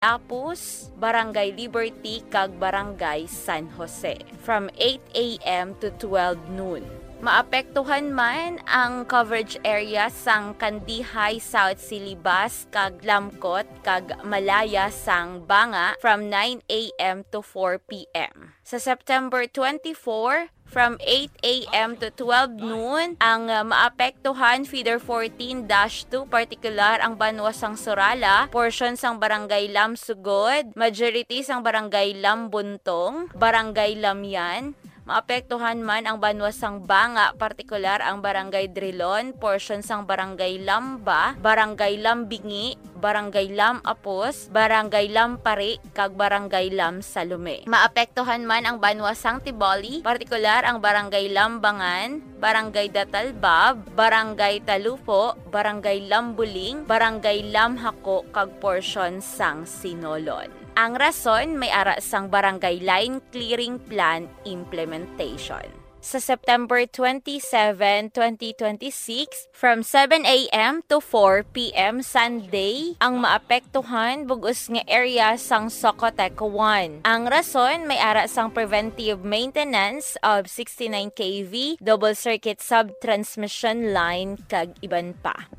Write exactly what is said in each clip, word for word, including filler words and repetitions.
Tapos, Barangay Liberty, kag Barangay San Jose, from eight a m to twelve noon. Maapektuhan man ang coverage area sang Kandihay, South Silibas, kag Lamcot, kag Malaya sang Banga from nine a m to four p m. Sa September twenty-four, from eight a m to twelve noon, ang, uh, maapektuhan, feeder fourteen dash two, partikular ang banwa sang Surala, portion sang Barangay Lamsugod, majority sang Barangay Lambuntong, Barangay Lamyan. Maapektuhan man ang banwa sang Banga, partikular ang Barangay Drilon, portion sang Barangay Lamba, Barangay Lambingi, Barangay Lam Apos, Barangay Lam Pari, kag Barangay Lam Salome. Maapektuhan man ang banwa sang Tiboli, partikular ang Barangay Lambangan, Barangay Datalbab, Barangay Talupo, Barangay Lambuling, Barangay Lamhako, kag porsyon sang Sinolon. Ang rason may ara sang Barangay Line Clearing Plan implementation. Sa September twenty-seven, twenty twenty-six, from seven a m to four p m Sunday, ang maapektuhan bug-os nga area sang Socotec one. Ang rason may ara sang preventive maintenance of sixty-nine K V, double circuit sub-transmission line, kag iban pa.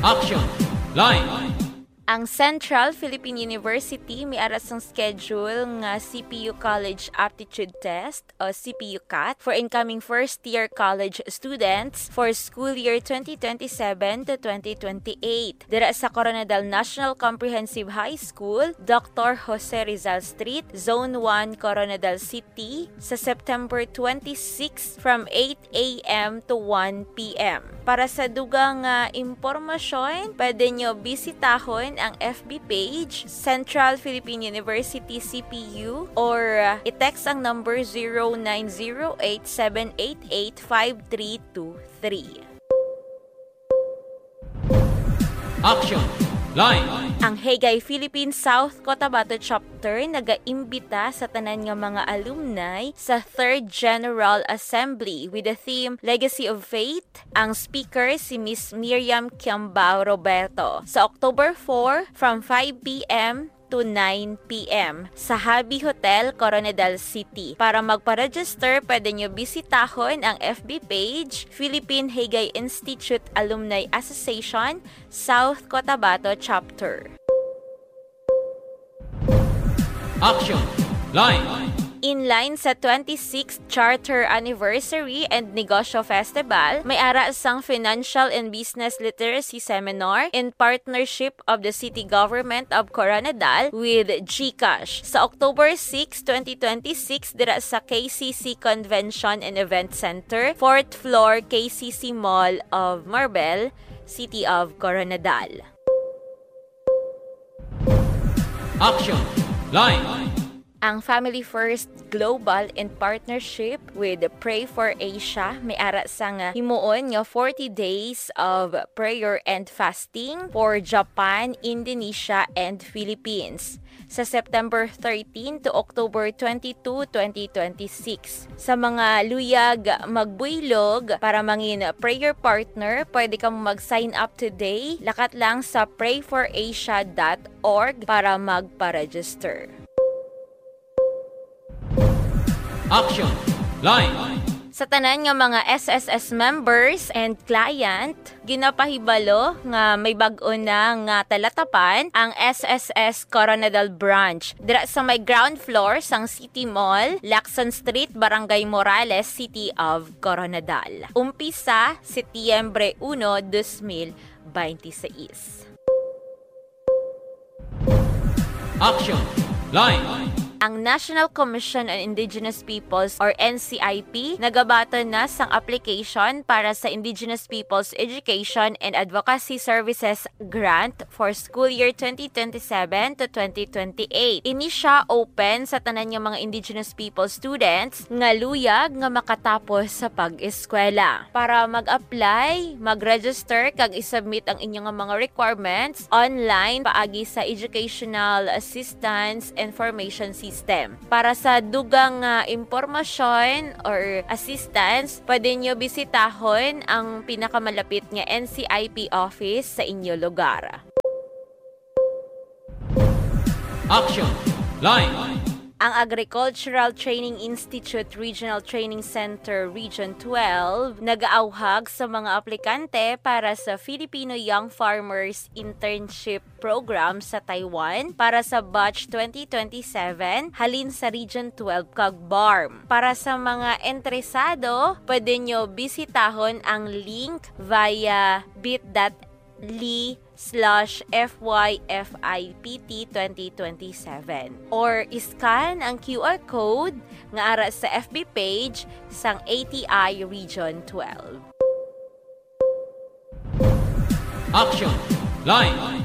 Action Line. Ang Central Philippine University may ara sang schedule nga C P U College Aptitude Test o C P U CAT for incoming first year college students for school year twenty twenty-seven to twenty twenty-eight. Dira sa Koronadal National Comprehensive High School, Doctor Jose Rizal Street, Zone one, Koronadal City, sa September twenty-six from eight a m to one p m. Para sa dugang nga impormasyon, pwede nyo bisitahon ang F B page, Central Philippine University C P U, or, uh, i-text ang number zero nine zero eight seven eight eight five three two three. Action Line. Ang Haygay Philippine South Cotabato Chapter nagaimbita sa tanan nga mga alumni sa Third General Assembly with the theme Legacy of Faith. Ang speaker si Miss Miriam Kiambao Roberto. Sa October four, from five p m to nine p m sa Habi Hotel, Koronadal City. Para magpa-register, pwede nyo bisitahon ang F B page, Philippine Haygay Institute Alumni Association, South Cotabato Chapter. Action Line. In line sa twenty-sixth Charter Anniversary and Negosyo Festival, may ara sang Financial and Business Literacy Seminar in partnership of the City Government of Koronadal with GCash sa October six, twenty twenty-six, dira sa K C C Convention and Event Center, fourth floor, K C C Mall of Marbel, City of Koronadal. Action Line. Ang Family First Global in partnership with Pray for Asia may ara sang himuon nga forty days of prayer and fasting for Japan, Indonesia, and Philippines sa September thirteen to October twenty-two, twenty twenty-six. Sa mga luyag magbuylog para mangin prayer partner, pwede kamo mag-sign up today. Lakat lang sa pray for asia dot org para magpa-register. Action Line. Sa tanan nga mga S S S members and client, ginapahibalo nga may bag-o na nga talatapan ang S S S Koronadal Branch dira sa may ground floor sang City Mall, Lacson Street, Barangay Morales, City of Koronadal. Umpisa, Setyembre uno, dos mil beintiseis. Action Line. Ang National Commission on Indigenous Peoples or N C I P nagabaton na sang application para sa Indigenous Peoples Education and Advocacy Services Grant for school year twenty twenty-seven to twenty twenty-eight. Ini sia open sa tanan nga mga Indigenous People students nga luyag nga makatapos sa pag-eskwela. Para mag-apply, mag-register kag i-submit ang inyo nga mga requirements online paagi sa Educational Assistance Information System. STEM. Para sa dugang nga impormasyon or assistance, pwede nyo bisitahon ang pinakamalapit nga N C I P office sa inyo lugar. Action! Line! Ang Agricultural Training Institute Regional Training Center Region twelve nagaawhag sa mga aplikante para sa Filipino Young Farmers Internship Program sa Taiwan para sa batch twenty twenty-seven halin sa Region twelve kag BARMM. Para sa mga interesado, pwede nyo bisitahon ang link via bit.ly slash F Y F I P T twenty twenty-seven or scan ang Q R code nga ara sa F B page sang A T I Region twelve. Action! Line!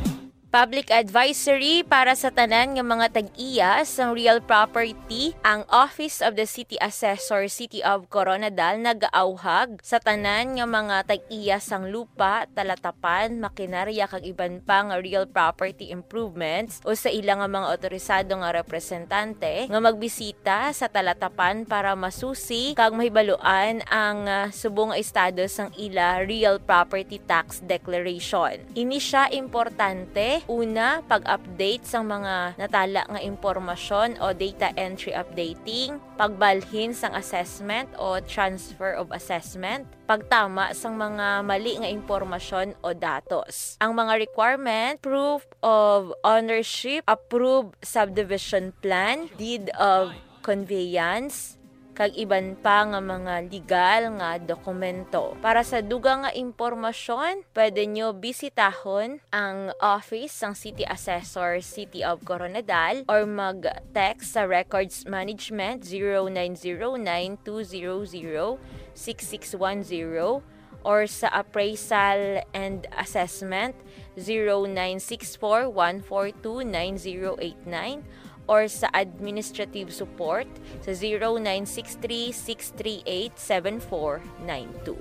Public advisory para sa tanan nga mga tag-iya sang real property, ang Office of the City Assessor, City of Koronadal, nagaawhag sa tanan nga mga tag-iya sang lupa, talatapan, makinarya, kag iban pa nga real property improvements o sa ila nga mga otorisado nga representante nga magbisita sa talatapan para masusi kag mahibaluan ang, ah, subong nga estado sang ila real property tax declaration. Ini sia importante, una, pag-update sang mga natala nga impormasyon o data entry updating, pagbalhin sang assessment o transfer of assessment, pagtama sang mga mali nga impormasyon o datos. Ang mga requirement, proof of ownership, approved subdivision plan, deed of conveyance, kag iban pa nga mga legal nga dokumento. Para sa dugang nga impormasyon, pwede nyo bisitahon ang office sang City Assessor, City of Koronadal, or mag-text sa Records Management zero nine zero nine two zero zero six six one zero, or sa Appraisal and Assessment zero nine six four one four two nine zero eight nine, or sa Administrative Support sa zero nine six three six three eight seven four nine two.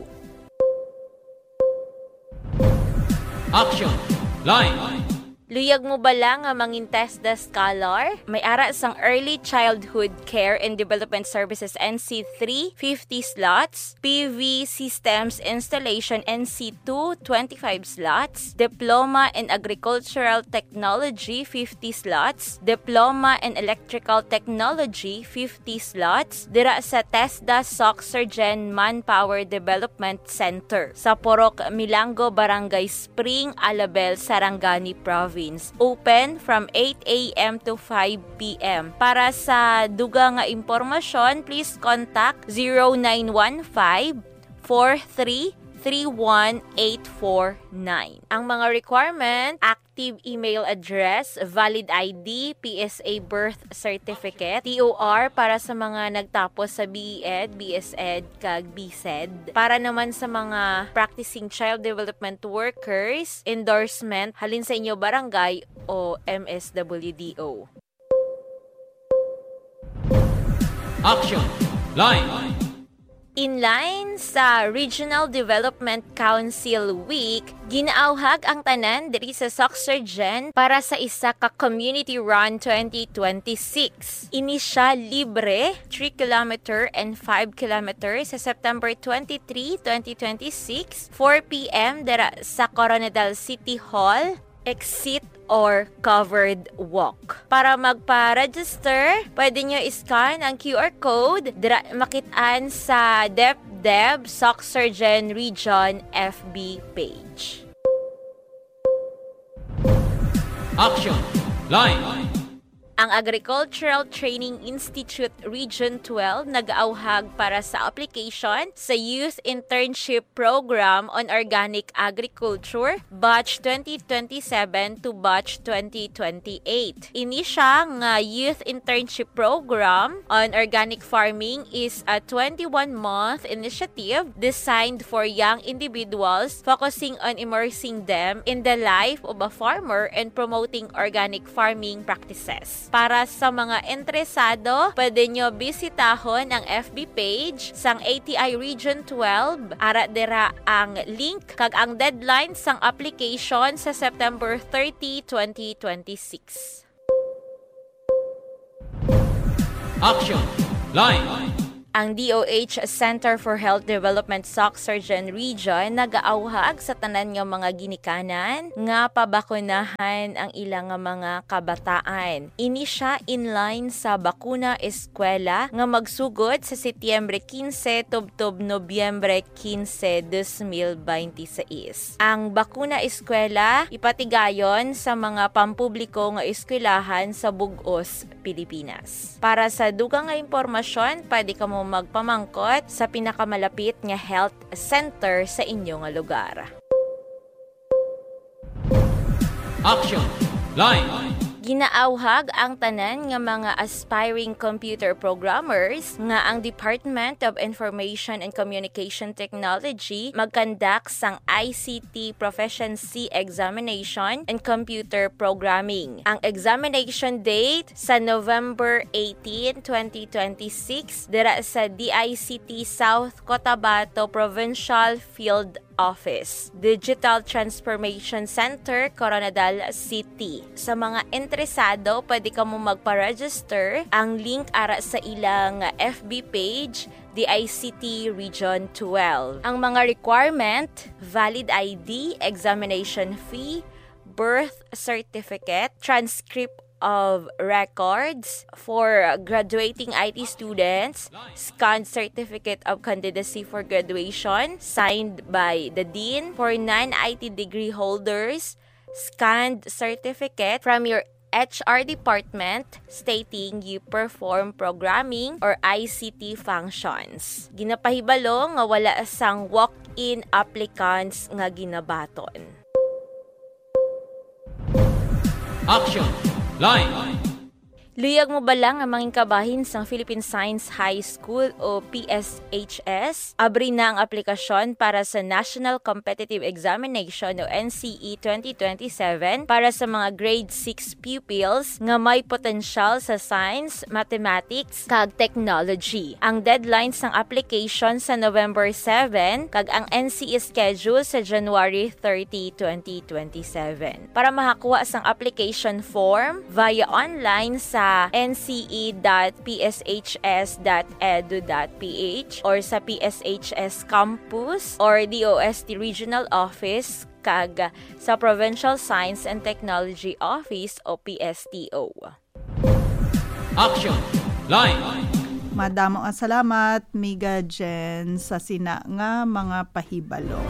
Action! Line! Luyag mo bala nga mangin TESDA Scholar? May ara sang Early Childhood Care and Development Services N C three, fifty slots, P V Systems Installation N C two, twenty-five slots, Diploma in Agricultural Technology, fifty slots, Diploma in Electrical Technology, fifty slots, dira sa TESDA Soxergen Manpower Development Center sa Purok Milango, Barangay Spring, Alabel, Sarangani Province. Open from eight a m to five p m. Para sa dugang nga impormasyon, please contact zero nine one five, four three three one eight four nine. Ang mga requirement, active email address, valid I D, P S A birth certificate, T O R para sa mga nagtapos sa B E Ed, B S Ed, kag B Sed. Para naman sa mga practicing child development workers, endorsement halin sa inyo barangay o M S W D O. Action! Line! In line sa Regional Development Council Week, ginaawhag ang tanan diri sa Soxergen para sa isa ka Community Run twenty twenty-six. Ini sia libre, three kilometer and five kilometer sa September twenty-three, twenty twenty-six, four p m dira sa Koronadal City Hall, exit or covered walk. Para magpa-register, pwede nyo i-scan ang Q R code dira makit-an sa DepDev Soxergen Region F B page. Action! Line! Ang Agricultural Training Institute Region twelve nag-auhag para sa application sa Youth Internship Program on Organic Agriculture, Batch twenty twenty-seven to Batch twenty twenty-eight. Ini sia nga youth internship program on organic farming is a twenty-one-month initiative designed for young individuals, focusing on immersing them in the life of a farmer and promoting organic farming practices. Para sa mga interesado, pwede nyo bisitahon ang F B page sang A T I Region twelve. Ara dira ang link kag ang deadline sang application sa September thirty, twenty twenty-six. Action Line. Ang D O H Center for Health Development Sac Surgeon Region nagaawhag sa tanan nga mga ginikanan nga pabakunahan ang ilang nga mga kabataan. Ini sia in line sa Bakuna Eskwela nga magsugod sa Setyembre quince tubtob Nobyembre quince, dos mil binte seis. Ang Bakuna Eskwela ipatigayon sa mga pampubliko nga eskwelahan sa bug-os Pilipinas. Para sa dugang nga impormasyon, pwede kamo magpamangkot sa pinakamalapit nga health center sa inyo nga lugar. Action Line. Ginaawhag ang tanan nga mga aspiring computer programmers nga ang Department of Information and Communication Technology magkandak sang I C T Proficiency Examination and Computer Programming. Ang examination date sa November eighteen, twenty twenty-six, dira sa D I C T South Cotabato Provincial Field Office, Digital Transformation Center, Koronadal City. Sa mga interesado, pwede kamo magpa-register. Ang link ara sa ilang F B page, D I C T Region twelve. Ang mga requirement: valid I D, examination fee, birth certificate, transcript of records for graduating I T students, scanned certificate of candidacy for graduation signed by the dean for non-I T degree holders, scanned certificate from your H R department stating you perform programming or I C T functions. Ginapahibalo nga wala sang walk-in applicants nga ginabaton. Action Line. Luyag mo bala nga mangin kabahin sang Philippine Science High School o P S H S? Abri na ang aplikasyon para sa National Competitive Examination o N C E twenty twenty-seven para sa mga grade six pupils nga may potensyal sa science, mathematics, kag technology. Ang deadline sang application sa November seven kag ang N C E schedule sa January thirty, twenty twenty-seven. Para makakuha sang application form via online sa N C E dot P S H S dot edu dot P H or sa P S H S campus or D O S T regional office kag sa Provincial Science and Technology Office o P S T O. Action Line. Madamo nga salamat, Miga Jen, sa sina nga mga pahibalo.